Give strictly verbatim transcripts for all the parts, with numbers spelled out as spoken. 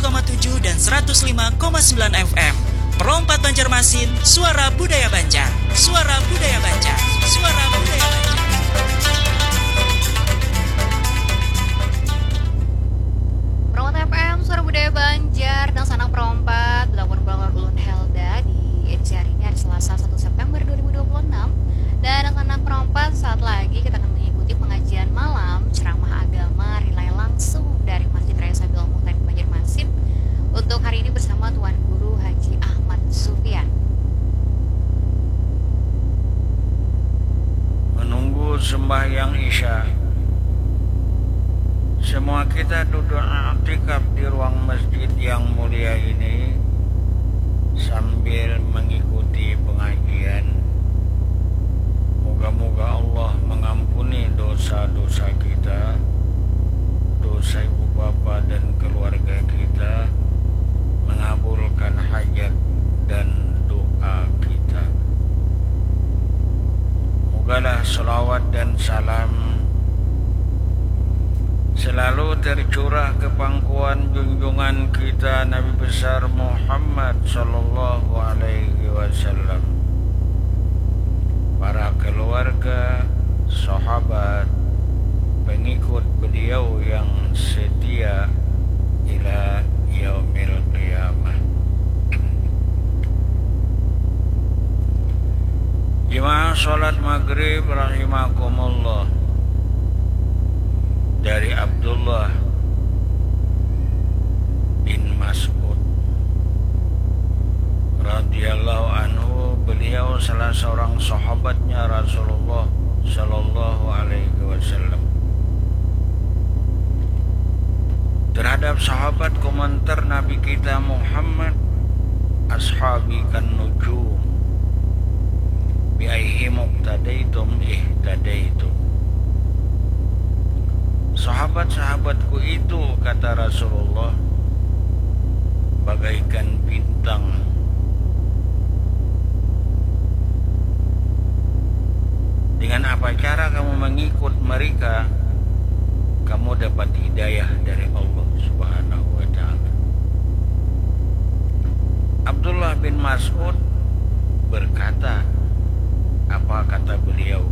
koma tujuh dan seratus lima koma sembilan F M. Pro empat Banjarmasin, suara budaya Banjar. Suara budaya Banjar. Suara budaya Banjar. Pro empat F M, suara budaya Banjar, dan sanang Pro empat, belamun pulang lawan ulun Helda di edisi hari ini, hari Selasa, satu September dua ribu dua puluh enam. Dan sanang Pro empat, saat lagi kita akan mengikuti pengajian malam ceramah agama relay langsung dari Masjid Raya Sabilul Muhtadin Banjarmasin. Untuk hari ini bersama Tuan Guru Haji Ahmad Sufian. Menunggu sembahyang Isya, semua kita duduk iktikaf di ruang masjid yang mulia ini sambil mengikuti pengajian. Moga-moga Allah mengampuni dosa-dosa kita, dosa ibu bapa dan keluarga kita, mengabulkan hajat dan doa kita. Mogalah selawat dan salam selalu tercurah ke pangkuan junjungan kita Nabi besar Muhammad sallallahu alaihi wasallam, para keluarga, sahabat, pengikut beliau yang setia ila yaumil qiyamah. Jemaah salat maghrib rahimakumullah. Dari Abdullah bin Mas'ud radhiyallahu anhu, beliau salah seorang sahabatnya Rasulullah sallallahu alaihi wasallam. Terhadap sahabat komentar Nabi kita Muhammad, "Ashabi kan nujum, bi aihim iqtadaitum ihtadaitum." Sahabat-sahabatku itu, kata Rasulullah, bagaikan bintang. Dengan apa cara kamu mengikut mereka, kamu dapat hidayah dari Allah Subhanahu wa Ta'ala. Abdullah bin Mas'ud berkata, apa kata beliau?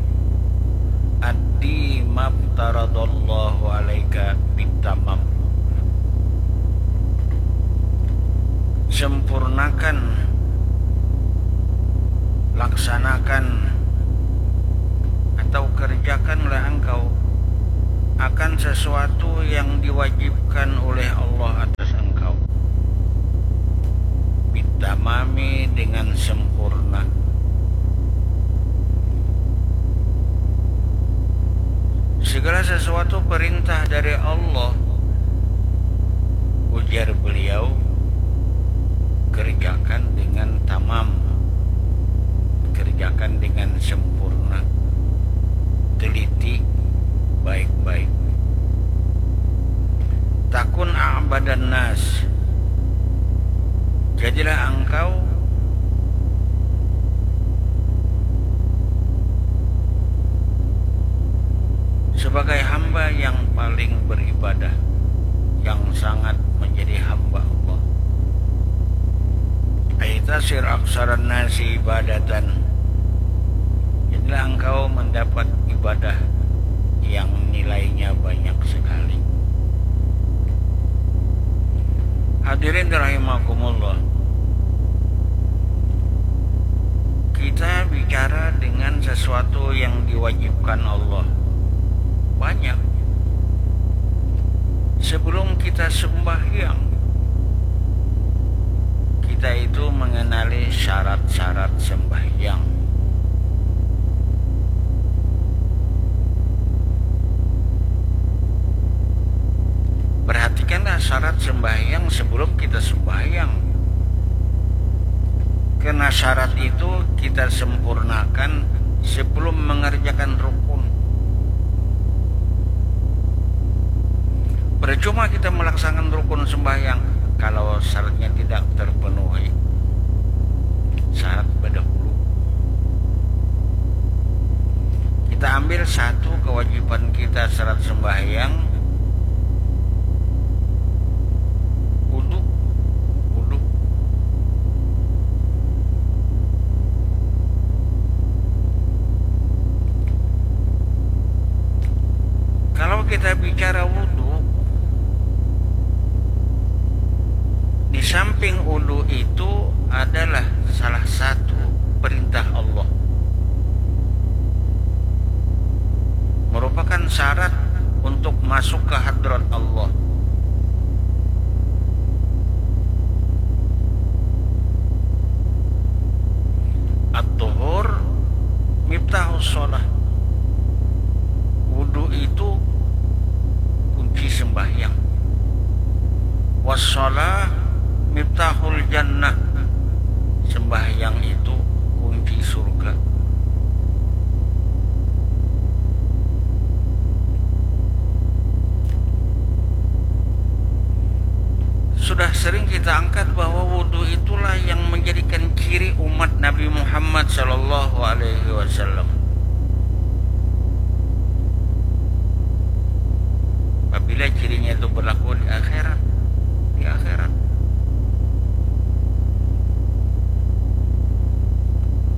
"Addi maftaradallahu alaika bitamam." Sempurnakan, laksanakan, atau kerjakanlah engkau akan sesuatu yang diwajibkan oleh Allah atas engkau. Bitamami, dengan sempurna. Segala sesuatu perintah dari Allah, ujar beliau, kerjakan dengan tamam, kerjakan dengan sempurna, teliti baik-baik. Takun a'badan nas, jadilah engkau sebagai hamba yang paling beribadah, yang sangat menjadi hamba Allah. Aitasir aksaran nasi ibadatan, jadilah engkau mendapat ibadah yang nilainya banyak sekali. Hadirin rahimakumullah, kita bicara dengan sesuatu yang diwajibkan Allah. Banyak. Sebelum kita sembahyang, kita itu mengenali syarat-syarat sembahyang. Perhatikanlah syarat sembahyang sebelum kita sembahyang. Karena syarat itu kita sempurnakan sebelum mengerjakan rukun. Percuma kita melaksanakan rukun sembahyang kalau syaratnya tidak terpenuhi. Syarat berdahulu. Kita ambil satu kewajiban kita syarat sembahyang, wudhu Kita bicara wudu, di samping wudu itu adalah salah satu perintah Allah, merupakan syarat untuk masuk ke hadrat Allah. At-tuhur miftahus shalah. Wudu itu kunci sembahyang. Wassalah miftahul jannah. Sembahyang itu kunci surga. Sudah sering kita angkat bahwa wudu itulah yang menjadikan ciri umat Nabi Muhammad sallallahu alaihi wasallam. Apabila cirinya itu berlaku di akhirat, di akhirat.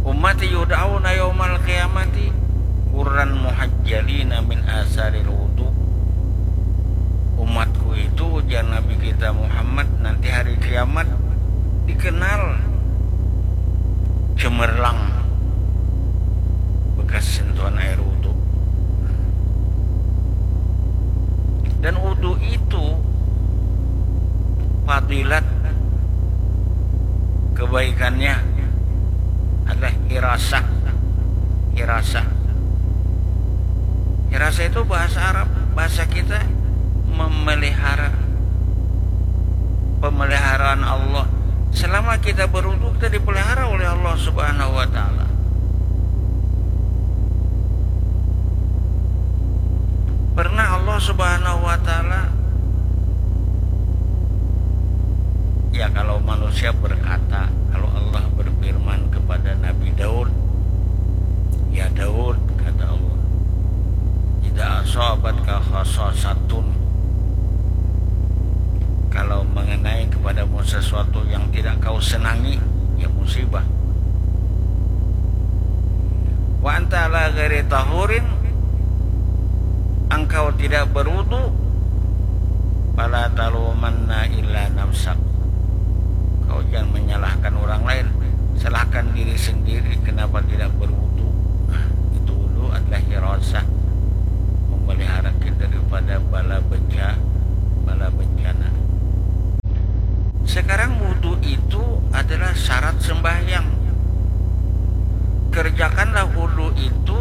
Ummati yud'auna yaumal qiyamati ghurran muhajjalina min asaril wudu. Umatku itu, ujar Nabi kita Muhammad, nanti hari kiamat dikenal cemerlang bekas sentuhan air wudu. Dan wudu itu fadilat kebaikannya adalah hirasah. Hirasah. Hirasah itu bahasa Arab, bahasa kita memelihara, pemeliharaan Allah. Selama kita berwudu, kita dipelihara oleh Allah Subhanahu wa Ta'ala. Pernah Allah Subhanahu wa Ta'ala, ya, kalau manusia berkata, kalau Allah berfirman kepada Nabi Daud, "Ya Daud," kata Allah, "idza asabatka khasasatun," kalau mengenai kepadamu sesuatu yang tidak kau senangi, ya, musibah. "Wa anta ala ghairi tahurin," engkau tidak berwudu, "fala talumanna illa nafsak." Kau jangan menyalahkan orang lain, salahkan diri sendiri kenapa tidak berwudu. Nah, itu wudu adalah hirasah, memelihara kita daripada bala beja-, bala bencana. Sekarang wudu itu adalah syarat sembahyang. Kerjakanlah wudu itu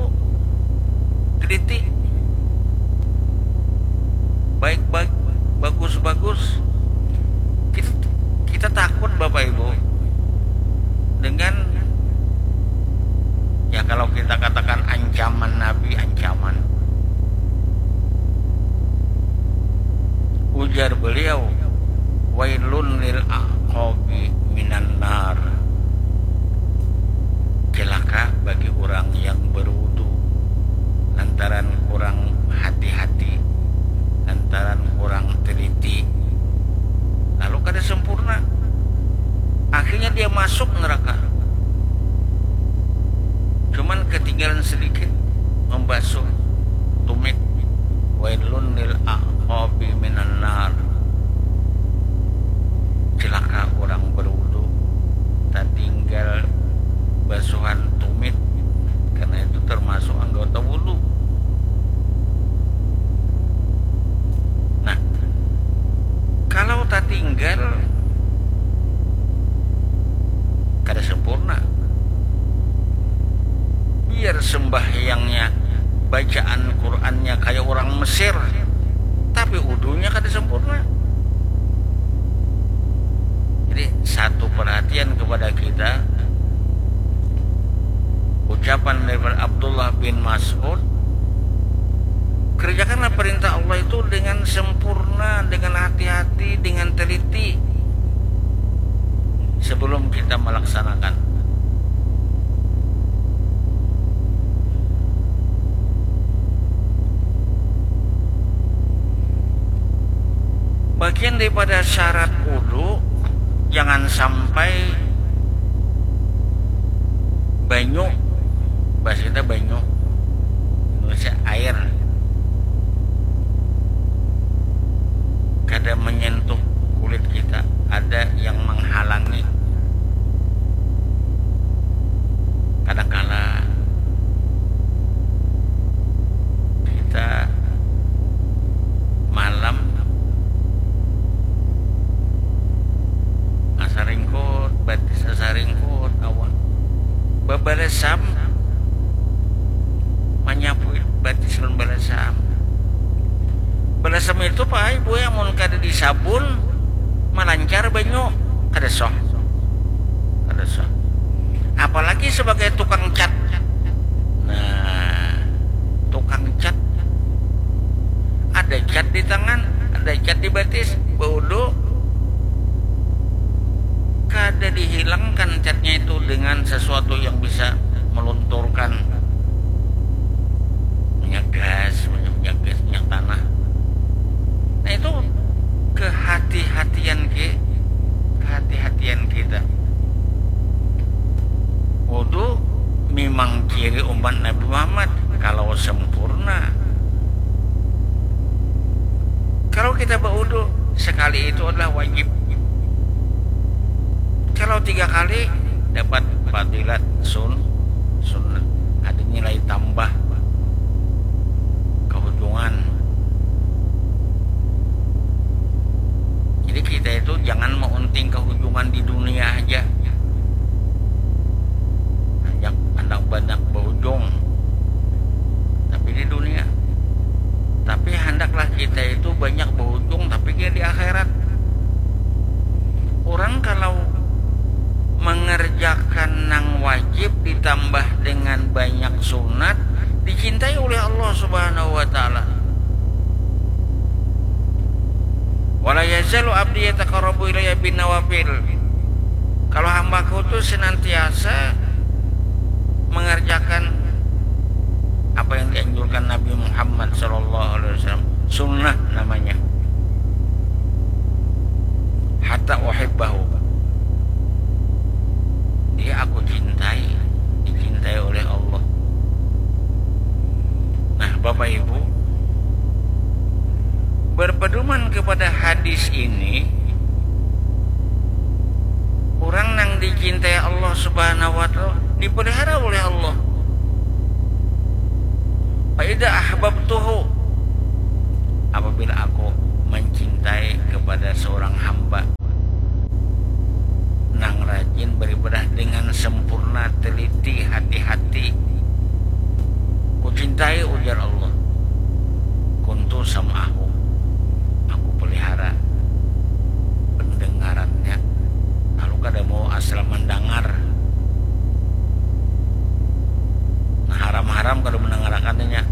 teliti, baik-baik, bagus-bagus. Kita, kita takut, Bapak Ibu, dengan, ya, kalau kita katakan ancaman Nabi, ancaman. Ujar beliau, "Wailun lil aqabi minan nar." Celaka bagi orang yang berwudu lantaran kurang hati-hati, lantaran kurang teliti, lalu kada sempurna. Akhirnya dia masuk neraka. Cuman ketinggalan sedikit membasuh tumit. "Wailun lil aqabi minan nar." Celaka orang berwudu, tatinggal basuhan tumit, karena itu termasuk anggota wudu. Nah, kalau tatinggal, kada sempurna. Biar sembahyangnya, bacaan Qur'annya kayak orang Mesir, tapi wudunya kada sempurna. Jadi, satu perhatian kepada kita, ucapan daripada Abdullah bin Mas'ud, "Kerjakanlah perintah Allah itu dengan sempurna, dengan hati-hati, dengan teliti sebelum kita melaksanakan." Bagian daripada syarat wudu, jangan sampai banyu, bahasa kita banyu, Indonesia air, Asam itu, Pak, Ibu, ya, mun kada disabun, malancar banyu, kada sah. Kada sah. Apalagi sebagai tukang cat. Nah, tukang cat. Ada cat di tangan, ada cat di batis, baudu. Kada dihilangkan catnya itu dengan sesuatu yang bisa melunturkan minyak gas, minyak gas, minyak tanah. Nah, itu kehati-hatian ki, kehati-hatian kita. Wudu memang ciri umat Nabi Muhammad kalau sempurna. Kalau kita berwudu sekali itu adalah wajib. Kalau tiga kali dapat fadilat sun sunnah, ada nilai tambah kehujungan. Jadi kita itu jangan meunting kehujungan di dunia aja. Handak handak banyak berujung, tapi di dunia. Tapi handaklah kita itu banyak berujung, tapi dia di akhirat. Orang kalau mengerjakan nang wajib ditambah dengan banyak sunat, dicintai oleh Allah Subhanahu wa Ta'ala. Wala yazalu abdi yataqarrabu ilayya bin nawafil. Kalau hambaku tu senantiasa mengerjakan apa yang dianjurkan Nabi Muhammad sallallahu alaihi wasallam, sunnah namanya. Hatta uhibbahu. Dia aku cintai, dicintai oleh Allah. Nah, Bapak Ibu, berpedoman kepada hadis ini, orang nang dicintai Allah Subhanahu wa Ta'ala dipelihara oleh Allah. Fa idza ahbabtuhu, apabila aku mencintai kepada seorang hamba nang rajin beribadah dengan sempurna, teliti, hati-hati, kucintai, ujar Allah. Kuntu sam'ahu, aku pelihara pendengarannya. Lalu kada mau asal mendengar. Nah, haram-haram kada mendengarkannya.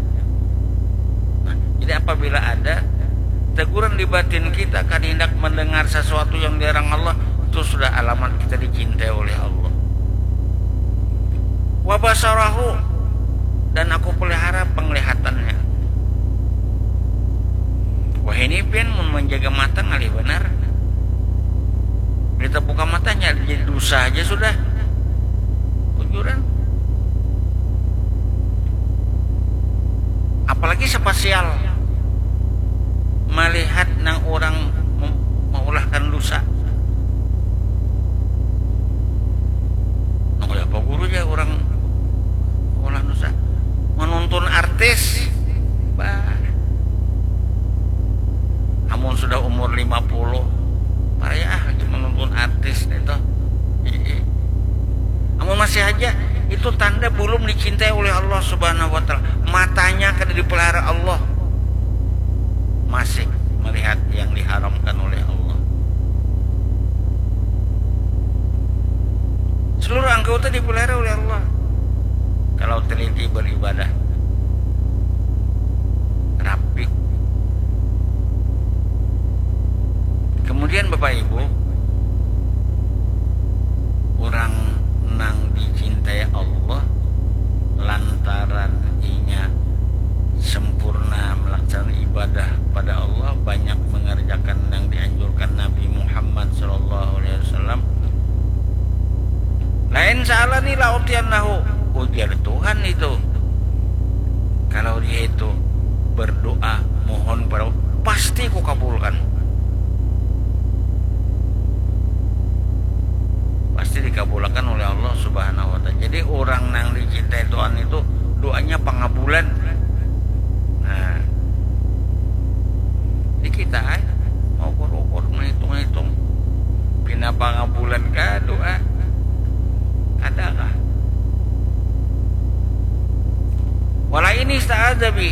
Nah, jadi apabila ada teguran di batin kita, kada hendak mendengar sesuatu yang dilarang Allah, itu sudah alamat kita dicintai oleh Allah. Wa basarahu, dan aku pelihara penglihatannya. Wah, ini pian mun menjaga mata ngalih banar. Kita buka matanya jadi dosa aja sudah. Kujuran. Apalagi spasial melihat nang orang mem- mengulahkan dosa. Nang kaya apa guru ja orang mengulah dosa? Menuntun artis. Bah. Amun sudah umur lima puluh, paraya ah lagi menuntun artis itu. Amun masih aja, itu tanda belum dicintai oleh Allah Subhanahu wa Ta'ala. Matanya kada dipelihara Allah, masih melihat yang diharamkan oleh Allah. Seluruh anggota dipelihara oleh Allah. Kalau teliti beribadah, rapi. Kemudian, Bapak Ibu, orang nang dicintai Allah lantaran inya sempurna melaksanakan ibadah pada Allah, banyak mengerjakan yang dianjurkan Nabi Muhammad sallallahu alaihi wasallam. Lain sa'alani la'utiyannahu, ujar Tuhan itu. Kalau dia itu berdoa, mohon pada, pasti ku kabulkan. Pasti dikabulkan oleh Allah Subhanahu wa Ta'ala. Jadi, orang nang dicintai Tuhan itu doanya pangabulan. Nah, di kita, ai, mau ukur-ukur, menghitung-hitung, pina pangabulan kah doa? Adakah? Wala ini ista'adza bi.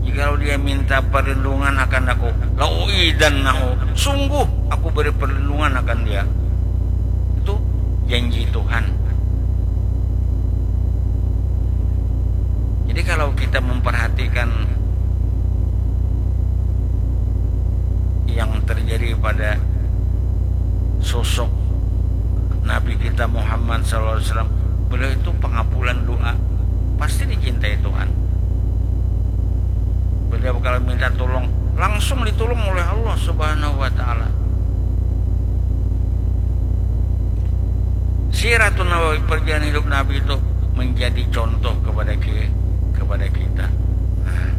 Jikalau dia minta minta perlindungan akan aku, la u'idannahu, sungguh aku beri perlindungan akan dia. Itu janji Tuhan. Jadi kalau kita memperhatikan yang terjadi pada sosok Nabi kita Muhammad sallallahu alaihi wasallam, beliau itu pengabulan doa, pasti dicintai Tuhan. Beliau kalau minta tolong, langsung ditolong oleh Allah Subhanahu wa Ta'ala. Siratun Nabawi, perjalanan hidup Nabi itu menjadi contoh kepada ki-, kepada kita. Nah.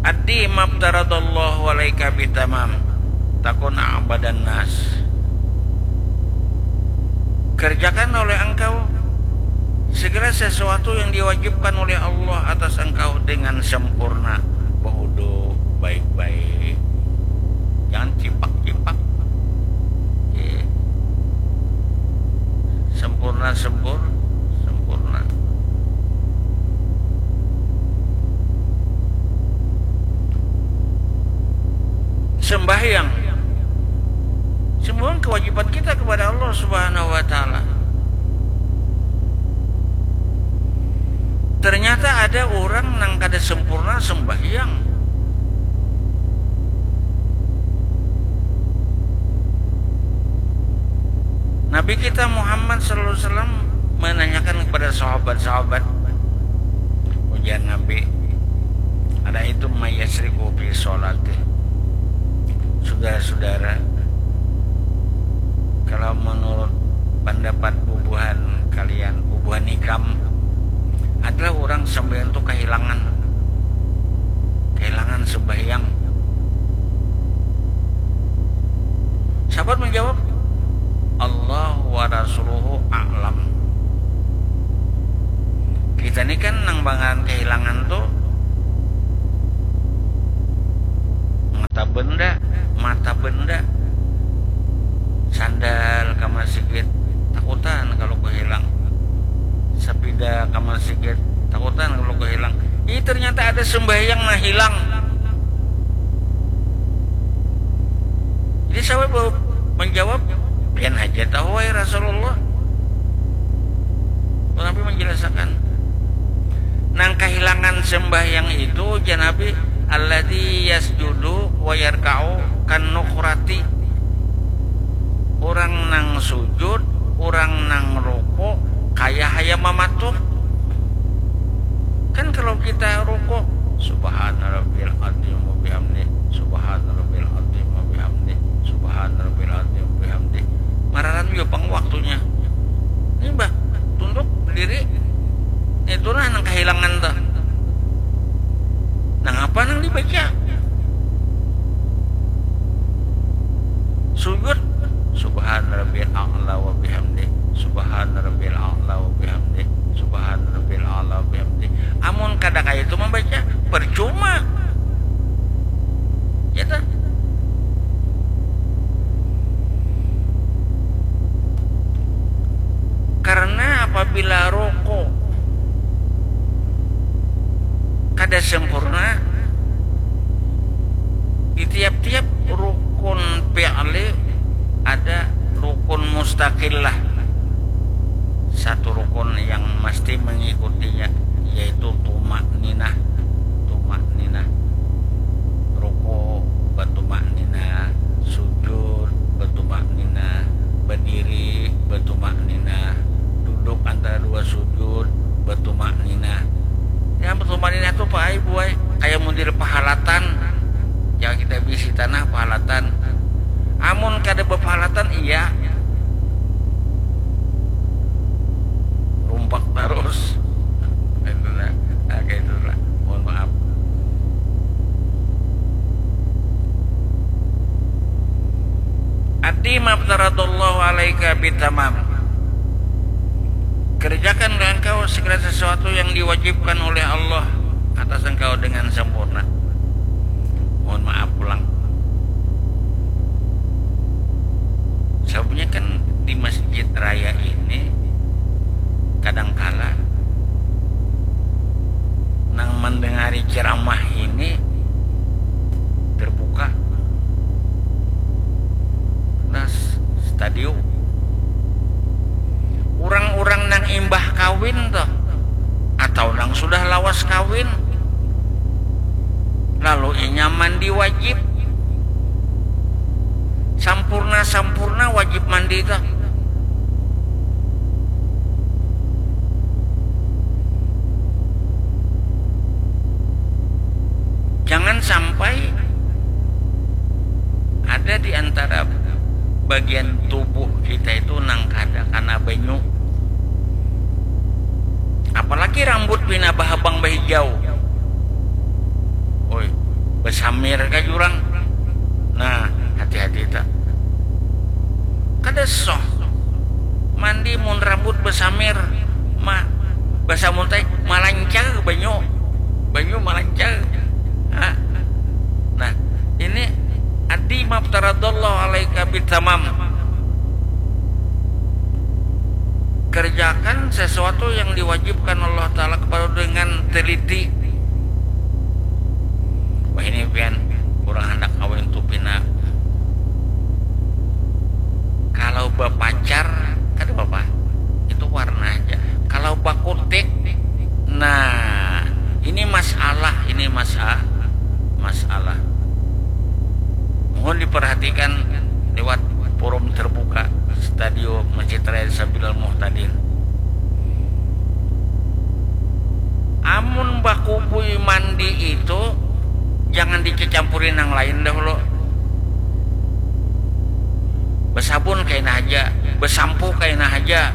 Addi maftaradallahu alaika bitamam, takun a'badan nas. Kerjakan oleh engkau segala sesuatu yang diwajibkan oleh Allah atas engkau dengan sempurna. Berwudu baik-baik. Jangan cipak-cipak. Oke. Sempurna, sempur-, sempurna. Sembahyang. Semua kewajiban kita kepada Allah Subhanahu wa Ta'ala. Ternyata ada orang nang kada sempurna sembahyang. Nabi kita Muhammad sallallahu alaihi wasallam menanyakan kepada sahabat-sahabat, ujar Nabi, "Ara'aitum may yasriqu fi sholati?" Saudara-saudara, kalau menurut pendapat bubuhan kalian, bubuhan ikam, adalah orang sembahyang tu kehilangan, kehilangan sembahyang. Sahabat menjawab, "Allah wa rasuluhu a'lam." Kita ni kan nang bangaran kehilangan tu mata benda, mata benda. Sandal ka masigit, takutan kalau kehilang. Sapida ka masigit, takutan kalau kehilang. Ih, ternyata ada sembahyang nah hilang. Jadi sahabat menjawab, "Pian haja tahu, wahai Rasulullah." Nabi menjelaskan, nang kehilangan sembahyang itu, jar Nabi, "Alladzi yasjudu wa yarka'u kan nukrati." Orang nang sujud, orang nang rukuk, kaya hayam mamatuk. Kan kalau kita rukuk, "Subhana rabbiyal azim wa bihamdi, subhana rabbiyal azim wa bihamdi, subhana rabbiyal azim wa bihamdi." Mararan jua pang waktunya. Ini bah, tunduk, berdiri. Itu nah nang kehilangan tuh. Nang apa nang dibaca? Sujud, "Subhana rabbiyal a'la wa bihamdi, subhana rabbiyal a'la wa bihamdi, subhana rabbiyal a'la wa bihamdi." Amun kada kaya itu membaca, percuma. Ya toh? Karena apabila rukuk kada sempurna, di tiap-tiap rukun fi'li ada rukun mustaqillah. Satu rukun yang mesti mengikutinya, yaitu tumakninah. Tumakninah. Ruku, batumakninah. Sujud, batumakninah. Berdiri, batumakninah. Duduk antara dua sujud, batumakninah. Yang batumakninah tu apa ai, buai? Kayak model pahalatan. Yang kita bisi tanah pahalatan. Amun kada bapahalatan, iya. Rumpak tarus. Itu nah. Nah, kayak itu lah. Mohon maaf. Addi maftaradallahu alaika bitamam. Kerjakanlah engkau segala sesuatu yang diwajibkan oleh Allah atas engkau dengan sempurna. Mohon maaf pulang. Sababnya kan di masjid raya ini kadangkala mendengari ceramah ini terbuka. Nah, stadium. Orang-orang nang imbah kawin tuh, atau nang sudah lawas kawin, lalu inya mandi wajib. Sampurna-sampurna wajib mandi tuh. Jangan sampai ada di antara bagian tubuh kita itu nang kada kana banyu. Apalagi rambut pina bahabang bahijau. Oi, basamir ka jurang. Nah, hati-hati ta. Kada soh. Mandi mun rambut basamir, ma, basamun tai malancar banyu. Banyu malancar. Ha. Nah, ini adi maftaradallahu alaika bitamam. Kerjakan sesuatu yang diwajibkan Allah Ta'ala kepada dengan teliti. Wah, ini pian kurang hendak kawin tu pina. Kalau bapacar kada apa-apa, itu warna aja. Kalau bakutik, nah, ini masalah, ini masa masalah. Mohon diperhatikan lewat forum terbuka Stadium Masjid Raya Sabilal Muhtadin. Amun bakubui mandi itu jangan dicacampuri nang lain dahulu. Basabun kaina haja, basampu kaina haja.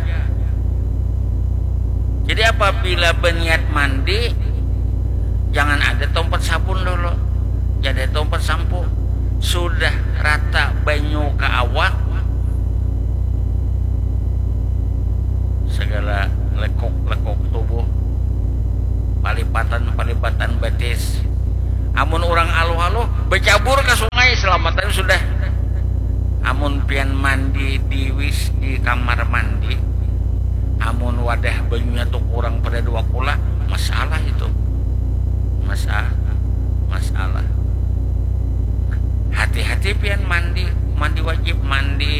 Jadi apabila baniat mandi, jangan ada tompat sabun dulu, jangan ada tompat sampo. Sudah rata banyu ka awak, segala lekuk-lekuk tubuh, palipatan-palipatan batis. Amun urang aluh-aluh, bacabur ka sungai, salamatan sudah. Amun pian mandi di wis di kamar mandi, amun wadah banyunya tu kurang pada dua kula, masalah itu. Masa masalah. Hati-hati pian mandi, mandi wajib, mandi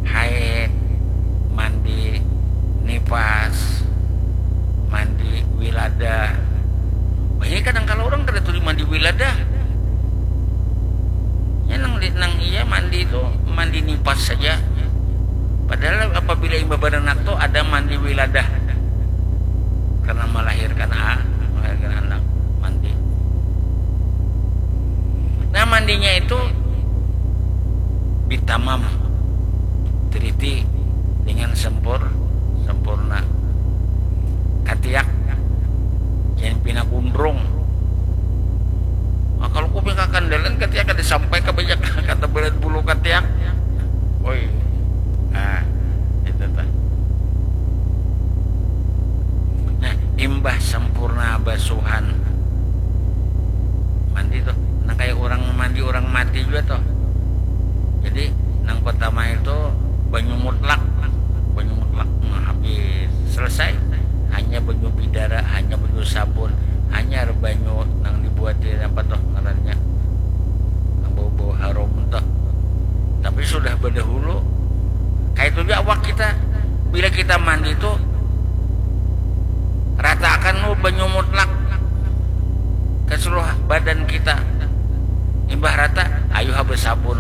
haid, mandi nipas, mandi wiladah. Banyak kadang kalau orang kada tuli mandi wiladah. Ya, nang di, nang iya mandi itu mandi nipas saja. Padahal apabila imbah baranak tu ada mandi wiladah. Karena melahirkan a-, melahirkan anak, mandi. Nah, mandinya itu bitamam, teliti, dengan sempur-, sempurna. Katiak, jangan pina gundrung. Nah, kalau kuping kakandalan katiak kada sampai ka banyak kata berat bulu katiak. Oi. Nah, itu tuh. Nah, imbah sempurna basuhan mandi tuh, nah, kayak orang mandi orang mati juga tuh. Jadi, nang pertama itu banyu mutlak, banyu mutlak, nah, habis selesai, hanya banyu bidara, hanya banyu sabun, hanya banyu nang dibuat di apa tuh ngarannya, nang bau-bau harum tuh. Tapi sudah berdahulu, kayak itu juga awak kita. Bila kita mandi tuh, ratakan lu banyu mutlak ke seluruh badan kita. Imbah rata, ayu ha bersabun,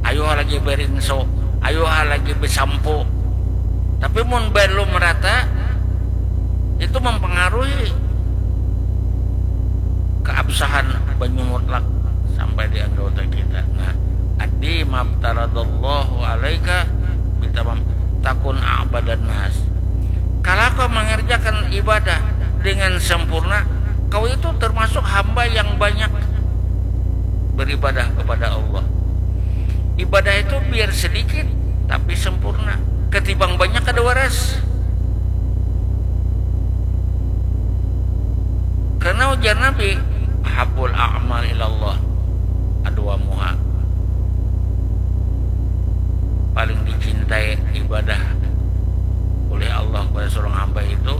ayu ha lagi berinso, ayu ha lagi besampo. Tapi mun belum rata, itu mempengaruhi keabsahan banyu mutlak sampai di anggota kita. Nah, adi maftaradallahu alaika bitamam takun a'badan nas. Kalau kau mengerjakan ibadah dengan sempurna, kau itu termasuk hamba yang banyak beribadah kepada Allah. Ibadah itu biar sedikit tapi sempurna. Ketimbang banyak kada waras. Karena ujar Nabi, "Habul a'mal ilallah adwamuha." Paling dicintai ibadah oleh seorang hamba itu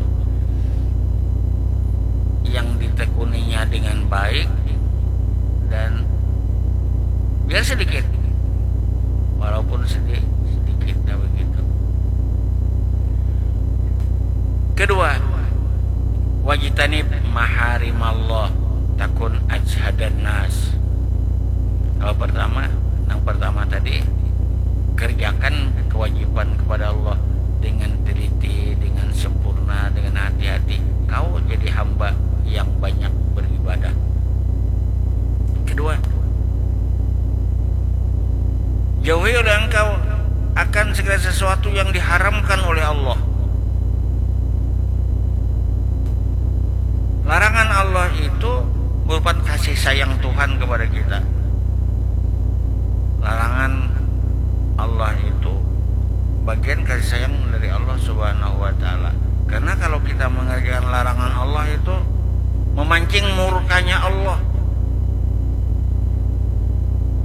yang ditekuninya dengan baik dan biar sedikit, walaupun sedih sedikit, nah begitu. Kedua, wajtanib maharimallah takun ajhadan nas. Kalau pertama, yang pertama tadi, kerjakan kewajiban kepada Allah dengan teliti, dengan sempurna, dengan hati-hati. Kau jadi hamba yang banyak beribadah. Kedua, jauhi oleh engkau akan segala sesuatu yang diharamkan oleh Allah. Larangan Allah itu merupakan kasih sayang Tuhan kepada kita. Larangan Allah itu bagian kasih sayang dari Allah Subhanahu wa Ta'ala. Karena kalau kita mengerjakan larangan Allah itu memancing murkanya Allah.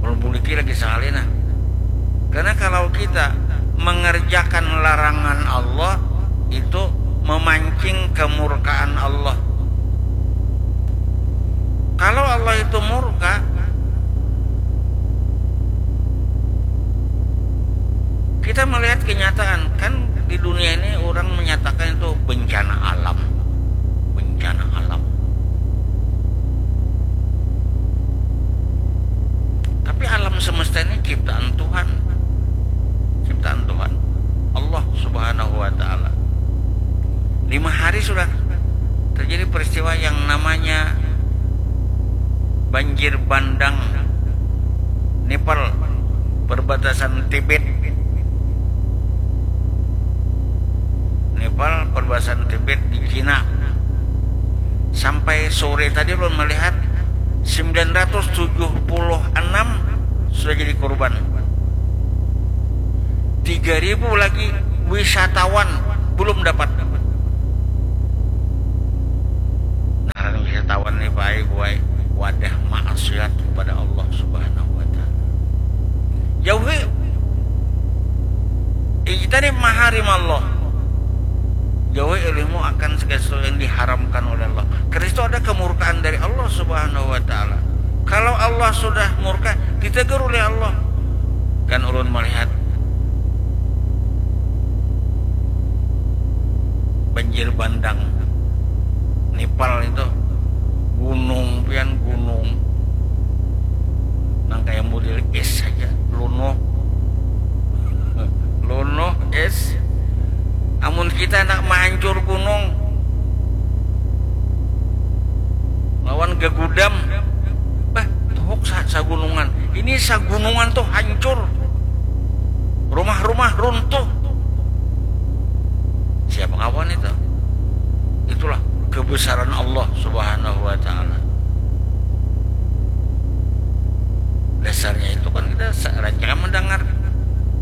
Belum buliki lagi sekali, nah. Karena kalau kita mengerjakan larangan Allah, itu memancing kemurkaan Allah. Kalau Allah itu murka, kita melihat kenyataan, kan di dunia ini orang menyatakan itu bencana alam. Bencana alam. Tapi alam semesta ini ciptaan Tuhan. Ciptaan Tuhan. Allah Subhanahu wa Ta'ala. Lima hari sudah terjadi peristiwa yang namanya banjir bandang Nepal, perbatasan Tibet. Nepal, perbatasan Tibet di Cina. Sampai sore tadi ulun melihat sembilan ratus tujuh puluh enam sudah jadi korban. Tiga ribu lagi wisatawan belum dapat. Ngaran wisatawan nih, baik, buai, wadah maksiat kepada Allah Subhanahu wa Ta'ala. Jauhi. Ijtanib maharim Allah. Jauhi olehmu akan segala sesuatu yang diharamkan oleh Allah. Karena itu ada kemurkaan dari Allah Subhanahu wa Ta'ala. Kalau Allah sudah murka, ditegur oleh Allah. Kan ulun melihat banjir bandang Nepal itu, gunung pian, gunung nang kayak model es saja, lunuh. Lunuh es. Amun kita nak mahancur gunung lawan gegudam, bah, tuhuk sa sagunungan. Ini sagunungan tuh hancur. Rumah-rumah runtuh. Siapa kawan itu? Itulah kebesaran Allah Subhanahu wa Ta'ala. Dasarnya itu kan kita sa- rancangan mendengar